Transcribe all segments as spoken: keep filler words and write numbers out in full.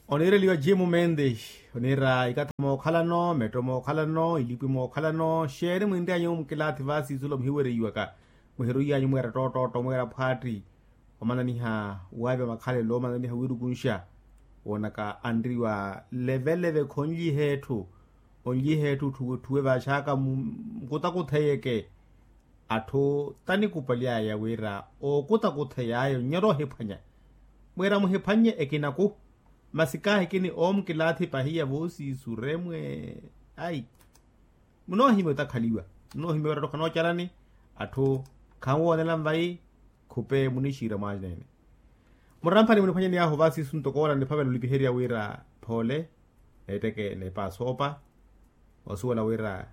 Oniireliwa jimu mendes, oniira ikatha mookhalano metto mookhalano ilipwi mookhalano xeeni mwinry'anyu mukilaathi vaasiisulo muhiwereiwaka, muhiruiy'anyu mweera ttoottootto mweera phwaatti. Omananiha waavya makhalelo omananiha wiirukunxa, woonaka anriwa leveleve khonlyiha etthu. Onlyiha etthu otthuwe vaaxaaka mukutakutheyeke. Atthu tanikupaly'aya wira ookutakuthey'aya onnyora ohiphwanya. Mwira muhiphwannye ekinaku. Masi kaahikini oomukilaathi pahiya voosiisu remwe. Ai, munoohimya otakhaliwa, munoohimya wira atthu khanoocarani. Atthu khanwoonela nvayi. Khupe munixiira mwaneene. Muramphani muniphwanyani ahu vaasiisu ntoko ola niphavela olipiherya wira phoole. Neetteke neepaasoopa. Osuwela wira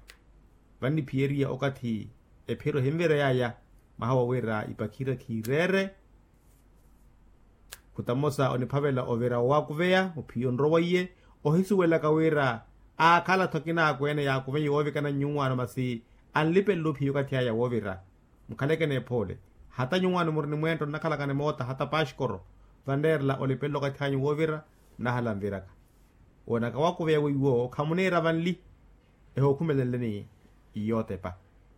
vanniphiyeriya okathi ephiro ehinvereyaaya. Mwaha wa wira ipakhira khiireere. Khuta mmosa oniphavela ovira owaakuveya ophiya onrowaiye. Ohisuwelaka wira aakhala-tho akina akweene yaakuveiye woovikana nyuwaano masi anlipelela ophiya okathi aya woovira. Mukhaleke neephoole. Hata nyuwaano muri ni mweento nnakhalaka ni moota hata paxkoro. Vanreerela olipelela okathi anyu woovira. Nnahala nviraka woonaka waakuveya weiwo khamuniira vanli. Ehookhumelelenleni. Iyootepa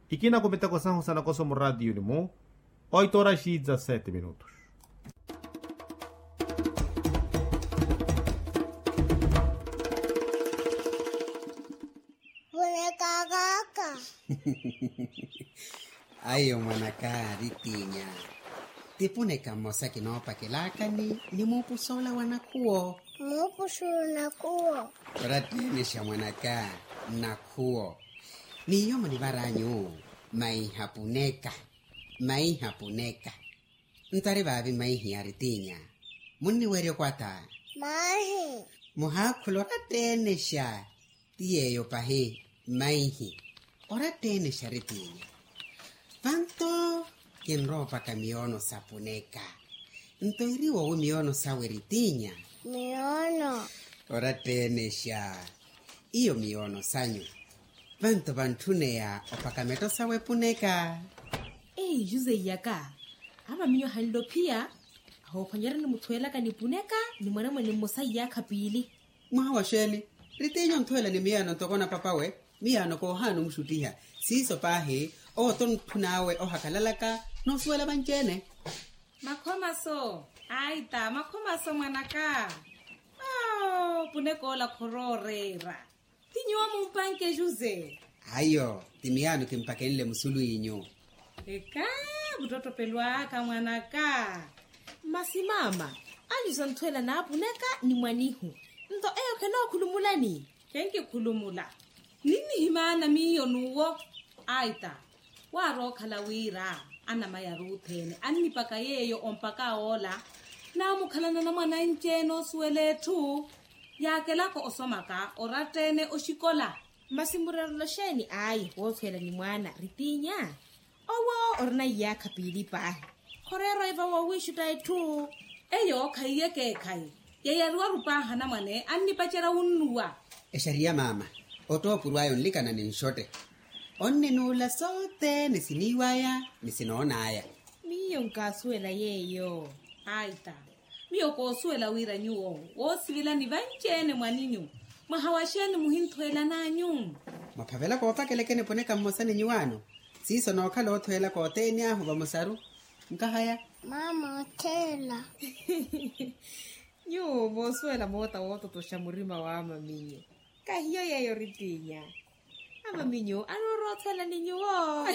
ikina kumiteko sahu sa nakoso muraatiyuni-mu. Oito horas e dezassete minutos. Puneka kaka. Ayo mwanaka ritinya. Ti puneka mmosa kinoopakelakani ni muupusa ola wa nakhuwo. Muupusa ola nakhuwo. Oratteenexa mwanaka. Nakhuwo. Miyo munivaranyu maiha puneka. Maiha puneka. Ntari vaavi maihi aritinya. Munniwerya okwata. Maihi. Muhaakhula oratteenexa. Ti yeeyo pahi. Maihi. Oratteenexa aritinya. Vanto kinroopaka miyoono sa puneka. Nto iriwo wi miyoono sawe ritinya. Miyoono. Oratteenexa. Iyo miyoono sanyu. Vanto vantthuneya opaka metto sawe puneka. Ei juse iyaka. Ama miyo hanlophiya. Ahoophwanyerya nimuthwelaka ni puneka ni mwanamwane mmosa iyaakha piili. Mwaha wa xeeni? Ritinya onthwela ni miyaano ntoko na papawe. Miyaano koohaana omuxuttiha. Siiso paahi. Owo tontthu n'awe ohakalalaka. Noosuwela vanci-ene. Makhomaso. Aita makhomaso mwanaka. Ao punek'ola khorooreera. Ti nyuwo mumpanke juse. Ayo ti miyaano kimpakenle musulu inyu. Eka. Vuttottopelo aka mwanaka. Masi maama. Anyu santhweela naapuneka ni mwanihu. Nto eyo khenookhulumulani. Khenkikhulumula. Ninnihimaana miyo n'uwo. Aita. Waarookhala wira anamayaru othene annipaka yeeyo ompaka oola. Naamukhalana na mwananci-ene osuwela etthu. Yaakelaka osomaka oratta-ene oxikola. Masi murerelo xeeni ayi woothweela ni mwaana ritinya? Owo orina iyaakha piili paahi. Khoreera oiva wowiixutta etthu. Eyo khaiyeke ekhayi. Yeyariwaru paahi anamwane annipacerya wunnuwa. Exariya maama. Ottoopuru aya onlikana ni nxotte. Onninuula sothene siniiw'aya ni sinoon'aya. Miyo nkaasuwela yeeyo. Aita. Miyo koosuwela wira nyuwo woosivilani vanci-ene mwaninyu. Mwaha wa xeeni muhinthweelan'anyu? Mwaphavela koopakelekeni puneka mmosa ni nyuwaano. Siiso nookhala othweelaka othene ahu vamosaru. Nkahaya. Maama otheela. Nyuwo moosuwela moota woototoxa murima w'amaminyu. Kahiyo yeeyo ritinya. Amaminyu anoorowa othweela ni nyuwo.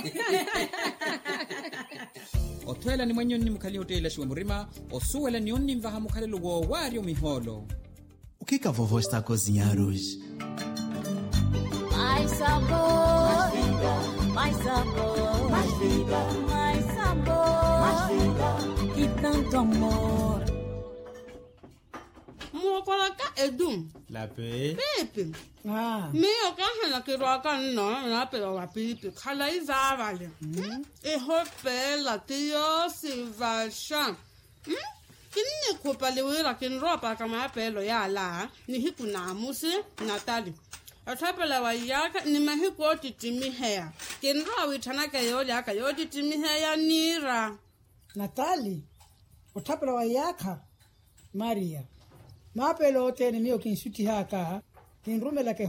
Othweela ni mwanyu onnimukhaliha otteelaxiwa murima. Osuwela ni onninvaha mukhalelo woowaarya omihoolo. O que que a vovó está a cozinhar hoje? Mais sabor, mais vida, mais sabor, mais vida, mais sabor, mais vida, e tanto amor. Mookolaka edu. Lape. Piipi. Miyo kaahana kirwaka nno naapela wa piipi khalayi vaavale. Ehopeela ti yoosivaxa. Kinnikhupali wira kinroopaka maapeelo yaala nihiku naamusi. Natali. Otthapela wa iyaakha ni mahiku oottittimiheya. Kinrowa wiitthanaka yooly'aka yoottittimiheya niira. Natali. Otthapela wa iyaakha. Mariya. Maapelo othene miyo kinsuttihaka kinrumelaka.